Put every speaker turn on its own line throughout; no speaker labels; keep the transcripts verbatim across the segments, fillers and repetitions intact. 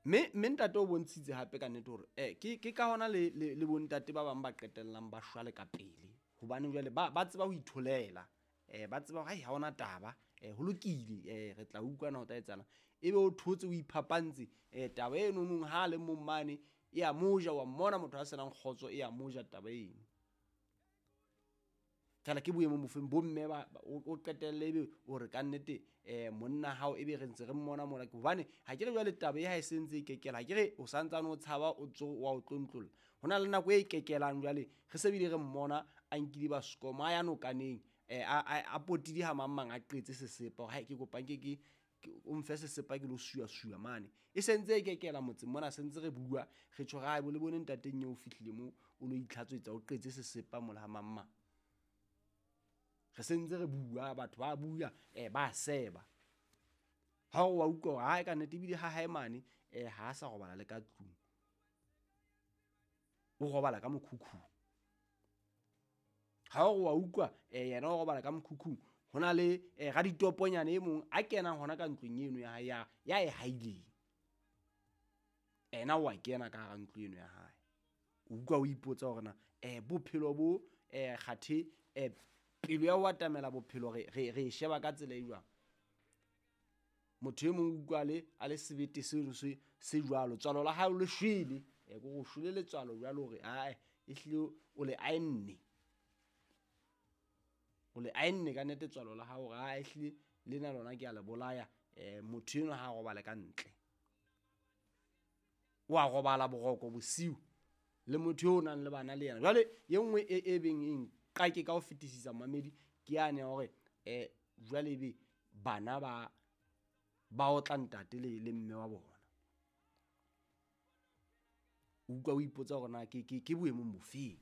Mme mme ntate o bontshitse hape ka nnete hore eh ke ke ka hona le le le bontate ba bang ba qetellang ba shwa le ka pele. Hobane jwale ba ba tseba ho itholela. Eh ba tseba hore hai ha hona taba, eh ho lokile, eh re tla utlwana ho tla etsahalang. Ebe o thotse o iphapantse eh taba eno nong ha le mong mane e a mo ja, wa mmona motho a senang kgotso e a mo ja taba eno. Fela ke boemong bofeng bomme ba o qetelle ebe o re ka nnete eh monna hao ebe re ntse re mmona mona. Hobane ha ke re jwale taba e ha e sentse e kekela, ha ke re o santsane o tshaba o tso wa o tlontlolla. Ho na le nako e kekelang jwale re se bile re mmona a nkile baskomo a ya nokaneng, eh a a potile ha mang mang a qetse sesepa hore hai ke kopa nke ke o mfe sesepa ke lo suwa suwa mane. E sentse e kekela motseng mona, sentse re bua re tjho re hai bo le bone ntateng eo o fihlile moo o lo itlhatswetsa o qetse sesepa mola ha mang mang. Re sentse re bua, batho ba bua eh ba seba. Ha o wa utlwa hore hai ka nnete ebile ha hae mane eh ha sa robala le ka tlung. O robala ka mokhukhung. Ha o wa utlwa eh yena o robala ka mokhukhung, ho na le eh raditoponyana e mong a kenang hona ka ntlong eno ya hae ya ya e haileng. Ena wa kena ka hara ntlo eno ya hae. O utlwa o ipotsa hore na eh bophelo bo eh kgathe eh pelo ya ho atamela bophelo re re re sheba ka tsela e jwang. Motho e mong o utlwa le a le sebete seno se se jwalo, tswalo la hao le shwele, eh ko go shwele letswalo jwalo hore ae ehlile o le aenne. O le aenne ka nnete tswalo la hao hore ae ehlile lena lona ke a le bolaya, eh motho enwa ha robale ka ntle. O a robala boroko bosiu le motho eo o nang le bana le yena. Jwale e nngwe e e beng e nqake ka ho fetisisa mamedi ke yane ya hore eh jwale ebe bana ba ba otla ntate le le mme wa bona. O utlwa o ipotsa hore na ke ke ke boemong bofeng.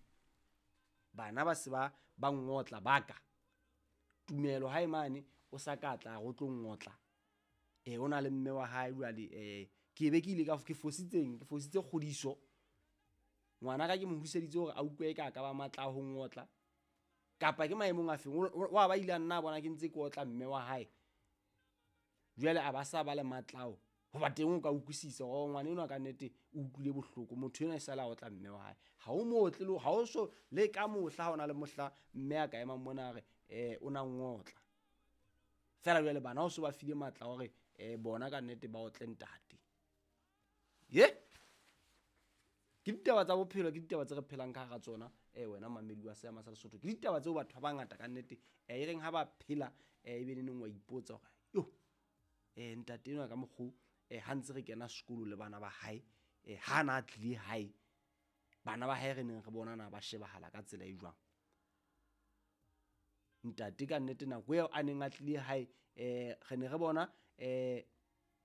Bana ba se ba ba ngotla ba ka. Tumelo hae mane o sa ka tla re o tlo ngotla. Eh o na le mme wa hae jwale eh ke be ke ile ka ke fositseng, ke fositse kgodiso. Ngwana ka ke mo huseditse hore a utlwe eka a ka ba matla a ho ngotla. Kapa ke maemong a feng, wa ba ile a nna bona ke ntse ke otla mme wa hae. Jwale a ba sa ba le matlao. Hoba teng o ka utlwisisa hore ngwana enwa ka nnete o utlwile bohloko, motho enwa e sale a otla mme wa hae. Ha o motle le ha o so le ka mohla ha ona le mohla mme a ka emang mona a re eh o na ngotla. Fela jwale bana o so ba file matla hore eh bona ka nnete ba otle ntate. Ye? Ke ditaba tsa bophelo, ke ditaba tse re phelang ka hara tsona eh wena mamedi wa Seama sa Lesotho. Ke ditaba tseo batho ba bangata ka nnete eh e reng ha ba phela eh ebe neneng wa ipotsa hore yo eh ntate enwa ka mokgo eh ha ntse re kena sekolo le bana ba hae eh ha na tlile hae bana ba hae re neng re bona na ba shebahala ka tsela e jwang. Ntate ka nnete nako eo a neng a tlile hae eh re ne re bona eh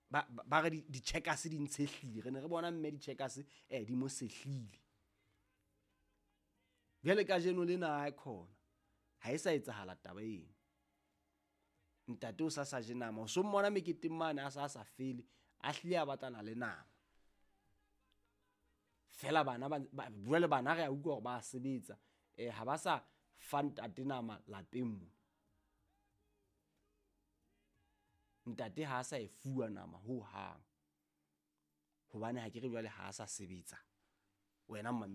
ba ba re di checkers di ntshehlile, re ne re bona mme di checkers eh di mo sehlile. Jwale kajeno lena ha khona ha e sa etsahala taba eno. Ntate o sa sa je nama, o so mmona meketeng mane a sa a sa fele, a hlile a batlana le nama. Fela bana ba jwale bana re a utlwa hore ba sebetsa eh ha ba sa fa ntate nama lapeng mo. Ntate ha sa e fuwa nama ho hang. Hobane ha ke re jwale ha sa sebetsa. Wena